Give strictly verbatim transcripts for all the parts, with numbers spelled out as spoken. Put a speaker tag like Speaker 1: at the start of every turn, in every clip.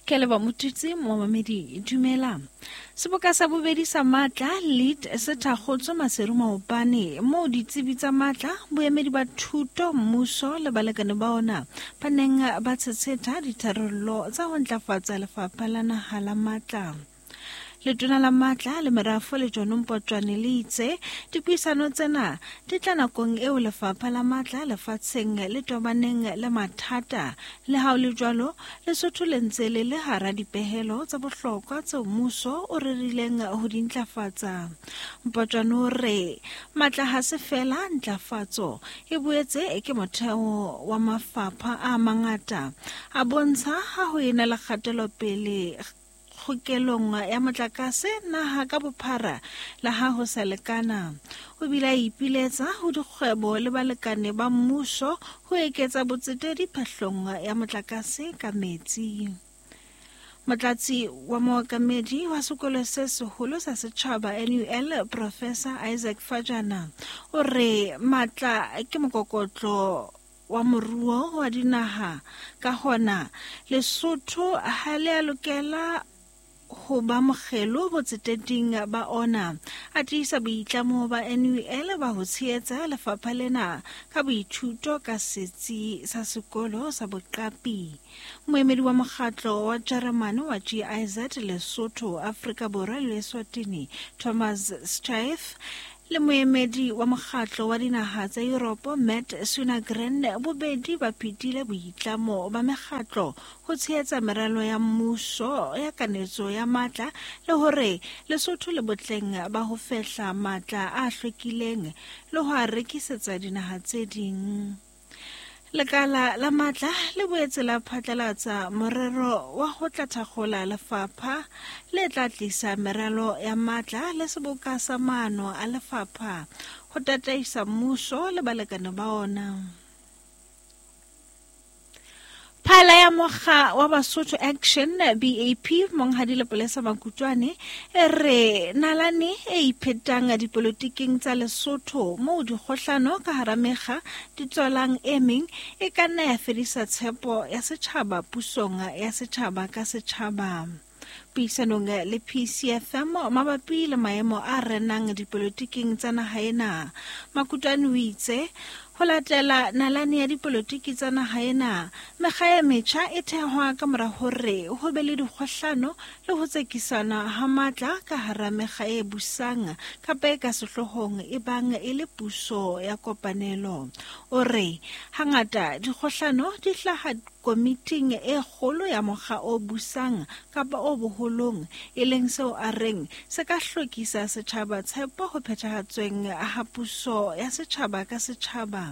Speaker 1: Ke leboha Motutsi momamedi dumela. Seboka sa bobedi sa matla lead se thakgotswe Maseru maobane moo ditsebi tsa matla, boemedi ba thuto, mmuso le balekane ba ona ba neng ba tshetsheta ditharollo tsa ho ntlafatsa lefapha la naha la matla. Letona la matla le merafo le John Mpotjwane le itse dipuisano tsena di tla nakong eo lefapha la matla lefatsheng le tobaneng le mathata. Le ha ho le jwalo, Lesotho le ntse le le hara dipehelo tsa bohlokwa tseo mmuso o rerileng ho di ntlafatsa. Mpotjwane o re matla ha se fela ntlafatso, e boetse ke motheo wa mafapha a mangata. A bontsha ha ho ena le kgatelopele kgokelong ya motlakase naha ka bophara le ha ho sa lekana. O bile a ipiletsa ho dikgwebo le balekane ba mmuso ho eketsa botsetedi phahlong ya motlakase ka metsi. Motlatsi wa mookamedi wa sekolo se seholo sa setjhaba N U L, Professor Isaac Fajana, o re matla ke mokokotlo wa moruo wa dinaha, ka hona Lesotho ha le a lokela ho ba mokgelo botseteding ba ona. A tiisa boitlamo ba N U L ba ho tshehetsa lefapha lena ka boithuto ka setsi sa sekolo sa boqapi. Moemedi wa mokgatlo wa Jeremane wa G I Z Lesotho, Afrika Borwa le Eswatini, Thomas Streiff, le moemedi wa mokgatlo wa dinaha tsa Europe Matt Sunagren, bobedi ba phethile boitlamo ba mekgatlo ho tshehetsa meralo ya mmuso ya kanetso ya matla le hore Lesotho le botleng ba ho fehla matla a hlwekileng le ho a rekisetsa dinaha tse ding. Lekala la matla le boetse la phatlalatsa morero wa ho tla thakgola lefapha le tla tlisa meralo ya matla le seboka sa maano a lefapha ho tataisa mmuso le balekane ba ona. Phala ya mokga wa Basotho Action B A P Monghadi Lepolesa Makutoane e re nalane e iphetang dipolotiking tsa Lesotho moo dikgohlano ka hara mekga di tswalang e meng e ka nna ya fedisa tshepo ya setjhaba pusong ya setjhaba ka setjhaba. Puisanong le P C F M mabapi le maemo a renang dipolotiking tsa naha ena, Makutoane o itse ho latela nalane ya dipolotiki tsa naha ena, mekga e metjha e thehwa ka mora hore ho be le dikgohlano le ho tsekisana ha matla ka hara mekga e busang kapa e ka sehloohong e bang e le puso ya kopanelo. O re hangata dikgohlano di hlaha komiting e kgolo ya mokga o busang kapa o boholong, e leng seo a reng se ka hlokisa setjhaba tshepo ho phethahatsweng ha puso ya setjhaba ka setjhaba.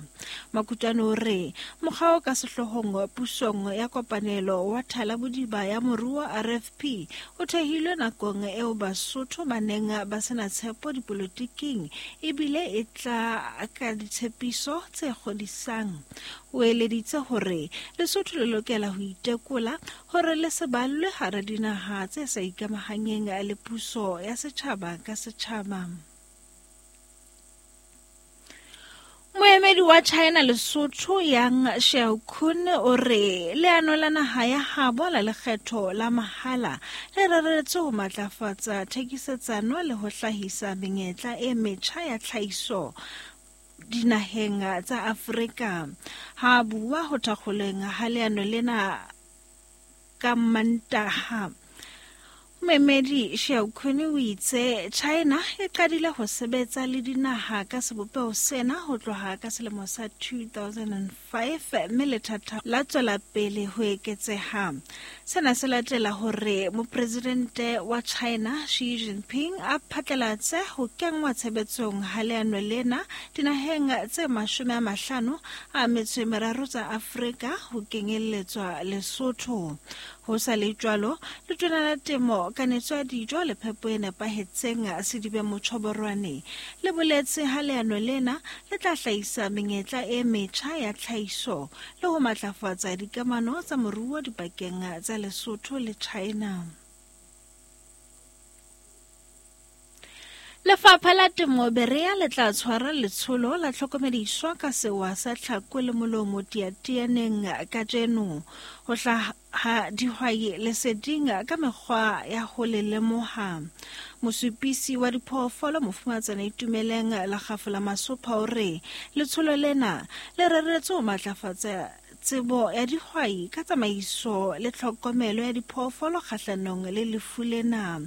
Speaker 1: Makutoane o re mokga o ka sehloohong pusong ya kopanelo wa Thalabodiba ya moruo R F P o thehilwe nakong eo Basotho ba neng ba sena tshepo dipolotiking ebile e tla ka ditshepiso tse kgodisang. O eleditse hore Lesotho le lokela ho itekola hore le se ballwe hara dinaha tse sa ikamahanyeng le puso ya setjhaba ka setjhaba. Moemedi wa China Lesotho Yang Xiaokun o re leano la naha ya habo la lekgetho la mahala le reretswe ho matlafatsa thekisetsano le ho hlahisa menyetla e metjha ya tlhahiso dinaheng tsa Afrika. Ha bua ho thakgoleng ha leano lena ka Mantaha, Moemedi Xiaokun o itse China e qadile ho sebetsa le dinaha ka sebopeho sena ho tloha ka selemo sa two thousand five mme lethatha la tswela pele ho eketseha. Sena se latela hore mopresidente wa China Xi Jinping a phatlalatse ho kenngwa tshebetsong ha leano lena dinaheng tse mashome a mahlano a metso e meraro tsa Afrika ho kenyelletswa Lesotho. Ho sa le jwalo, letona la temo, kanetso ya dijo le phepo e nepahetseng Sedibe Motjhoborwane le boletse ha leano lena le tla hlahisa menyetla e metjha ya tlhahiso le ho matlafatsa dikamano tsa moruo dipakeng tsa Lesotho le China. Lefapha la Temo Berea le tla tshwara letsholo la tlhokomediso ka sewa sa tlhako le molomo Teatianeng kajeno ho hlaha dihwai leseding ka mekgwa ya ho le lemoha. Mosupisi wa diphoofolo Mofumatsana Itumeleng Lekgafo la Masopha o re letsholo lena le reretswe ho matlafatsa tsebo ya dihwai ka tsamaiso le tlhokomelo ya diphoofolo kgahlanong le lefu lena.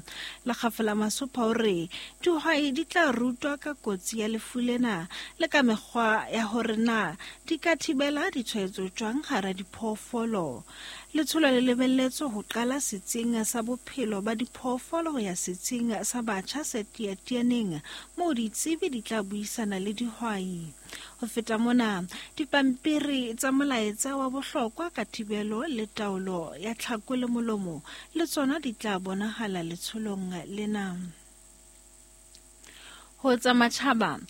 Speaker 1: Lekgafo la Masopha o re dihwai di tla rutwa ka kotsi ya lefu lena le ka mekgwa ya hore na di ka thibela ditshwaetso jwang hara diphoofolo. Letsholo le lebelletswe ho qala setsing sa bophelo ba diphoofolo ho ya setsing sa batjha se Teatianeng moo ditsebi di tla buisana le dihwai. Ho feta mona, dipampiri tsa molaetsa wa bohlokwa ka thibelo le taolo ya tlhako le molomo le tsona di tla bonahala letsholong lena. Ho tsa matjhaba,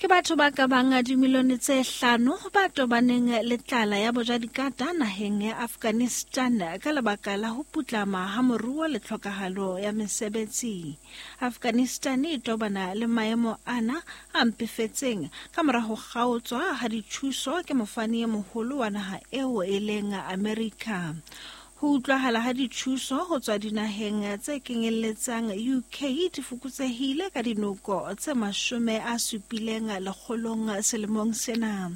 Speaker 1: ke batho ba ka bang dimilione tse hlano ba tobaneng le tlala ya bojadikata naheng ya Afghanistan ka lebaka la ho putlama ha moruo le tlhokahalo ya mesebetsi. Afghanistan e tobana le maemo ana a mpefetseng ka mora ho kgaotswa ha dithuso ke mofani e moholo wa naha eo e leng Amerika. Ho utlwahala ha dithuso ho tswa dinaheng tse kenyelletsang U K di fokotsehile ka dinoko tse mashome a supileng lekgolong selemong sena.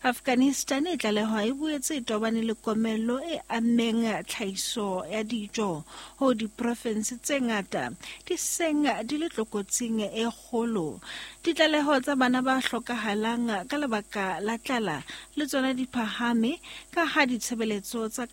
Speaker 1: Afghanistan e tlalehwa e boetse e tobane le komello e ammeng tlhahiso ya dijo ho diprofense tse ngata di seng di le tlokotsing e kgolo. Ditlaleho tsa bana ba hlokahalang ka lebaka la tlala le tsona di phahame ka ha ditshebeletso tsa